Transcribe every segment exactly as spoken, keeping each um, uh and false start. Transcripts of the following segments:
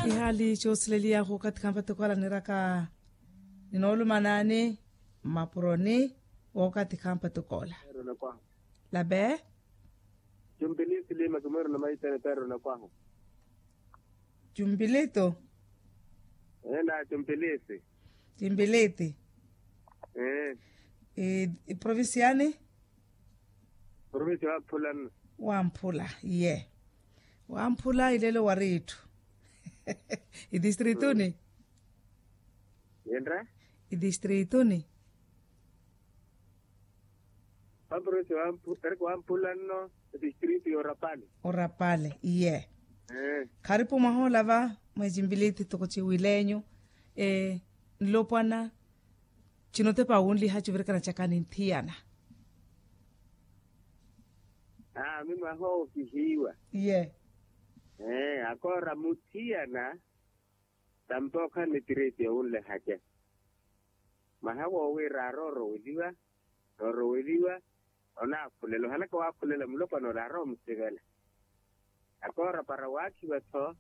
Ihaali coosilelia wookathi khampatokoola niraka ninoolumanaani mmapuroni wookathi khampatokoola. Labe. Cumpilisi lima kimwiruna maitene peruna kwahu. Cumpilito. Ena cumpilisi. Cumpiliti. Iprovinciani. Provincia wamphula nno. Wamphula iye. Wamphula ilelo wari itthu. Idistrituni. Yenra. Idistrituni. Wamphula nno. Idistritu yorapale. Orapale iye. Kharipu mwaha ola va mweecimpiliti toko ciwilenyu. Nlopwana. Cinotepa wunliha civirikana caka ninthiyana. Aami mwaha owo kihiiwa. Iye. Akoora muthiyana. Tampa okhala ni tireti yowunlehaca. Mwaha woowiira arooroweliwa. Nooroweliwa. Onaakhulela ohalaka waakhulela mulopwana ole arowa omusivela. Akoora para waakhiwa-tho.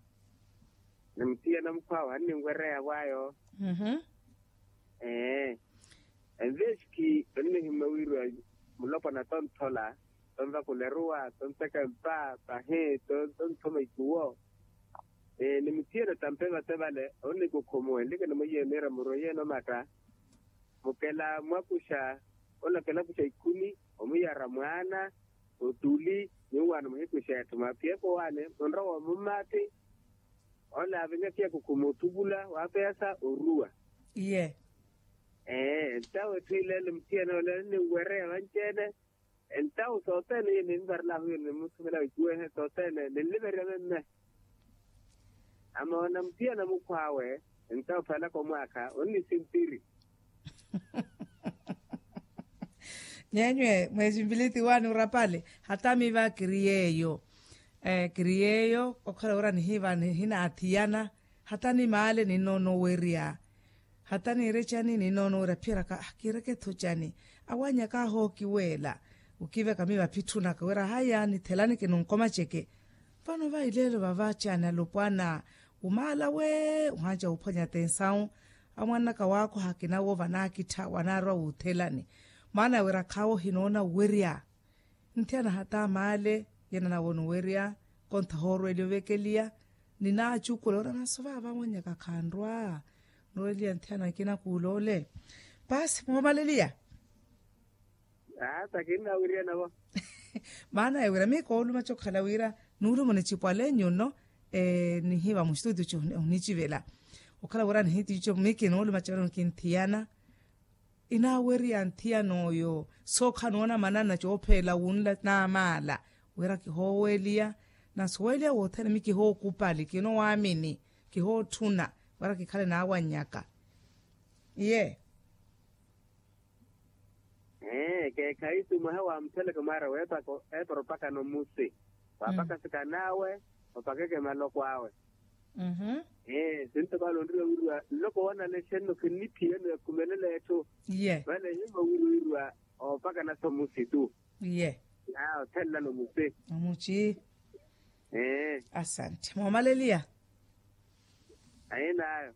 Ni muthiyana mukhw'awe anninwereya vwaayo. Ee. Envexki onnihimma wiiriwa mulopwana tonthola, tonvakula eruwa, tonteka empa pahi, tonthoma ikuwo. Ni muthiyana tampe vate vale onnikukhumu enlike ni mwiiye miira muroiye nomatta. Mukela mwakuxa. Onakela kuxa ikhuni omuyara mwaana, otuli, nyuwaano muhikuxa etthu maphiyepo waani munrowa omummati. Ole avinya siyakukhuma othuvula waapeyasa oruwa. Iye. Ee entawo etthu ileele muthiyana ole ninwereya vanci-ene. Entawo sothene iye ninvarelaho iye nimuthuvela icuwehe sothene ninliverya memme. Amoona muthiyana mukhw'awe. Entawo phalaka omwaakha onnisintiri. Nyenywe mweesimpiliti waani orapale. Hata miiva kiri yeeyo. Kiri yeeyo okhala wira nihiiva nihinaathiyana. Hata nimaale ninoonowerya. Hata niire cani ninoonowerya phiyeraka kiireke-tho cani? Awannyaka ahookiweela. Okiveka miiva phitthunaka wira haya nithelani kinunkomaceke. Vano vayi leelo vava cani alopwana. Omaala we ohanca wuphwanya atensawu. Amwannaka waakho hakina wo vanaakittha wanaarwa wuuthelani. Maana wira khaawo ohinoona owerya. Nthiyana hata maale yena nawoona owerya. Kontha hoorweliya ovekeliya. Ninaacukula ora naso vava mwannyaka khanrwa. Nrweliya nthiyana akina kuuloole. Paasi moomaleliya. Aa takinna wiriya navo. Maana ya wira miyo koolumaca okhala wira nuulumo nicipwale nyuno. Nihiiva mustutu co onicivela okhala wira nihitico miyo kinoolumaca vano kinthiyana. Inaawerya nthiyan'oyo. Sookha noona manana coopheela wunla naamaala wira kihooweliya. Nasuweliya wothene miyo kihookupali kinowaamini. Kihootthuna wira kikhale naawannyaka. Iye. Ee keekhayi tu mwaha waamutheleke mwaara weepaka eepara opakana omusi. Waapaka sikan'awe opakeke maloko awe. Ee sintokaala onriwa wiriwa nloko wanalexe nno khinniphiyano ya khumelela etthu. Vale ehimma wiriwa wiriwa oopakana somusi tu. Iye. Aa othelelano musi. Omuci. Ee. Asante moomaleliya. Ahinaayo.